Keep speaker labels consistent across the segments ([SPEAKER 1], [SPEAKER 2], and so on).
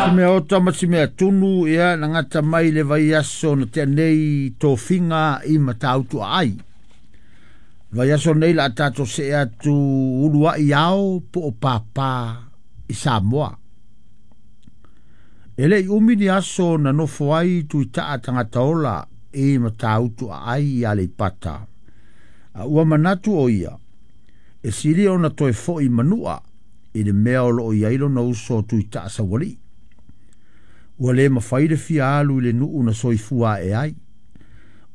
[SPEAKER 1] Si mea ota ma si mea tunu ia na gata mai le vaiaso na tea nei tofiga i Matautu Aai. Vaiaso nei la tatou see atu uluai ao po o pāpā i Samoa. E le'i umi ni aso na nofo ai Tuitaa Tagataola i Matautu Aai i Aleipata. A ua manatu o ia, e sili ona toe fo'i Manua i le mea o loo i ai lona uso Tuitaa Saualii. Ua le mafai le fia alu i le nuu na soifua ae ai.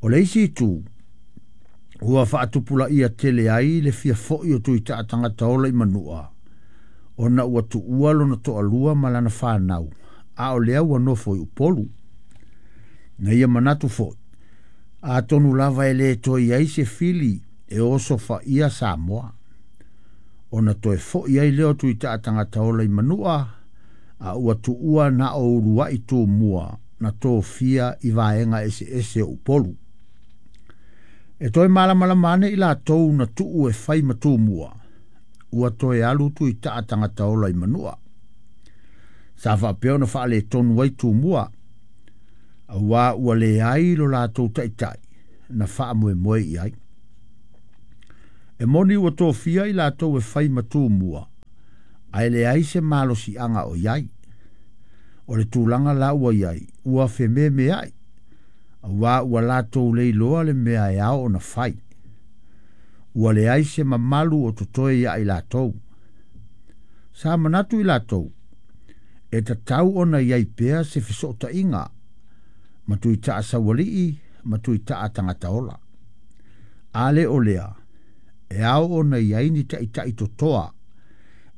[SPEAKER 1] O le isi itu, ua faatupulaia tele ai le fia fo'i o Tuitaa Tagataola i Manua, ona ua tuua lona toalua ma lana fanau, a o lea ua nofo i Upolu. Na ia manatu foi, atonu lava e le toe i ai se fili e osofaia Samoa. Ona toe fo'i ai lea o Tuitaa Tagataola i Manua, a ua tuua na o uluai tumua na tofia i vaega eseese o Upolu. E toe malamalama ane i latou na tuu e fai ma tumua, ua toe alu Tuitaa Tagataola i Manua. Sa faapea ona faaletonu ai tumua, auā ua leai lo latou taitai na faamoemoe i ai. E moni ua tofia i latou e fai ma tumua, ae leai se malosiaga o i ai. O le tulaga la ua i ai, ua fememeai, auā ua latou le iloa le mea e ao ona fai. Ua leai se mamalu o totoe ia i latou. Sa manatu i latou, e tatau ona i ai pea se fesootaiga ma Tuitaa Saualii ma Tuitaa Tagataola. A le o lea, e ao ona i ai ni taitai totoa,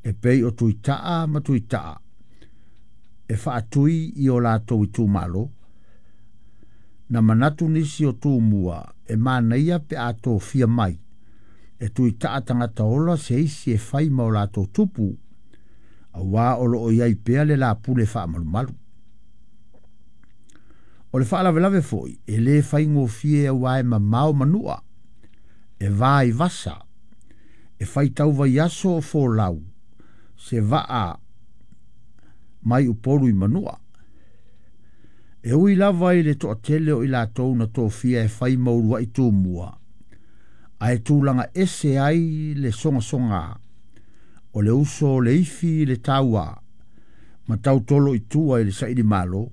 [SPEAKER 1] e pei o Tuitaa ma Tuitaa, e faatui i o latou itumalo. Na manatu nisi o tumua e manaia pe a tofia mai e Tuitaa Tagataola se isi e fai ma o latou tupu, auā o loo i ai pea le lapule faamalumalu. O le faalavelave foi, e le faigofie auā e mamao Manua, e va i vasa, e faitau vaiaso o folau, se vaa mai Upolu i Manua. E ui lava i le toatele o i latou na tofia e fai ma uluai tumua, ae tulaga ese ai le sogasoga o le uso o le ifi i le tauā ma tautolo i tua i le sailimalo.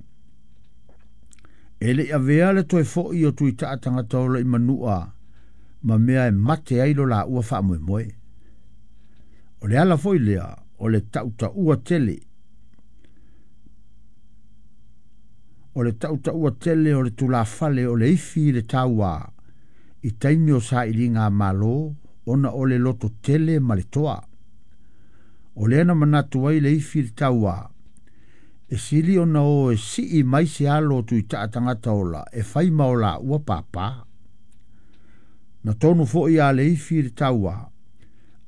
[SPEAKER 1] E le'i avea le toe fo'i o Tuitaa Tagataola i Manua ma mea e mate ai lo laua faamoemoe. O le ala foi lea o le tautaua tele o le tautaua tele o le tulafale o le ifi i le tauā i taimi o sailiga a Malo ona o le loto tele ma le toa. O lea na manatu ai le ifi i le tauā, e sili ona o e sii mai se alo o Tuitaa Tagataola e fai ma o laua pāpā. Na tonu foi a le ifi i le tauā,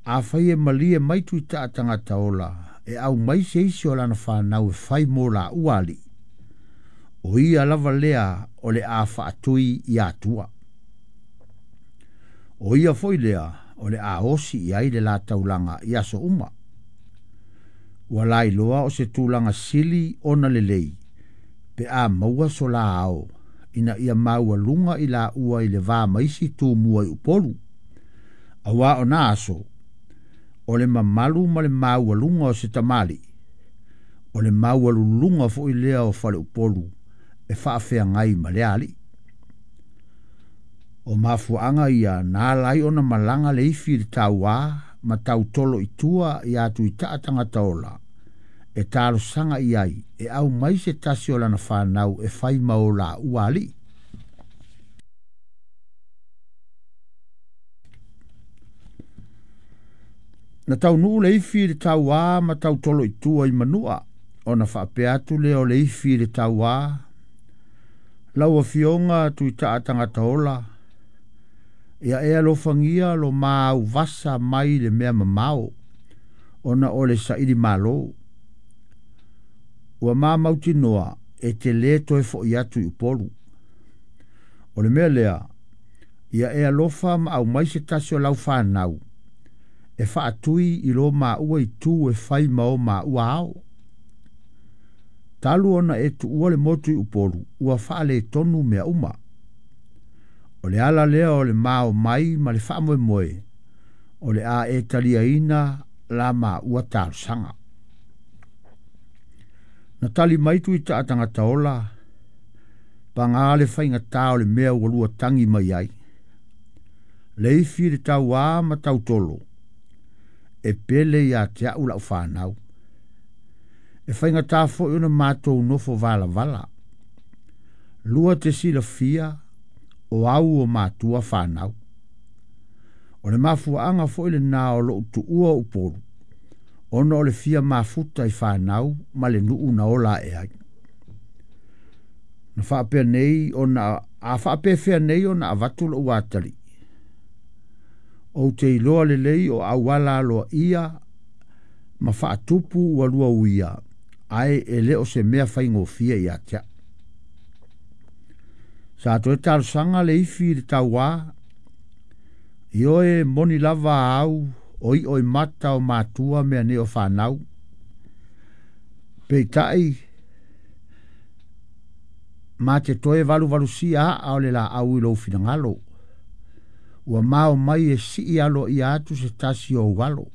[SPEAKER 1] afai e malie mai Tuitaa Tagataola e aumai se isi o lana fanau e fai mo laua alii, o ia lava lea o le a faatui i Atua. O ia foi lea o le a osi i ai le la taulaga i aso uma. Ua lailoa o se tulaga sili ona lelei, pe a maua so la ao, ina ia maualuga i laua i le va ma isi tumua i Upolu. Auā o na aso, o le mamalu ma le maualuga o se tamalii, o le maualuluga foi lea o faleupolu e faafeagai ma le alii. O mafuaaga ia na ala ai ona malaga le ifi i le tauā ma tautolo i tua iā Tuitaa Tagataola e talosaga i ai e aumai se tasi o lana fanau e fai ma o laua alii. Na taunuu le ifi i le tauā ma tautolo i tua i Manua, ona faapea atu lea o le ifi i le tauā, Lau Afioga Tuitaa Tagataola, ia e alofagia lo ma auvasa mai le mea mamao, ona o le sailimalo. Ua ma mautinoa e te lē toe fo'i atu i Upolu. O le mea lea, ia e alofa ma aumai se tasi o lau fanau e faatui i lo maua itu e fai ma o maua ao. Talu ona e tuua le motu i Upolu, ua faaletonu mea uma. O le ala lea o le mao mai ma le faamoemoe, o le a e taliaina la maua talosaga. Na tali mai Tuitaa tagata ola, paga le faigata o le mea ua lua tagi mai ai. Leifi le tauā ma tautolo, e pele ia te au lau fanau. E faigata foi ona matou nofo valavala. Lua te silafia o au o matua fanau. O le mafuaaga foi lena o lou tuua o Upolu, ona o le fia mafuta i fanau ma le nuu na ola ae ai. Na faapea nei ona a faapefea nei ona avatu lou atalii. Ou te iloa lelei o auala aloaia ma faatupu ua lua uia, ae e le o se mea faigofie ia te au. Sa toe talosaga le ifi i le tauā, ioe moni lava au o i'o i mata o matua mea nei o fanau. Peitai, ma te toe valuvalusia aa o le laau i lou finagalo. Ua mao mai e sii aloaia atu se tasi o ou alo.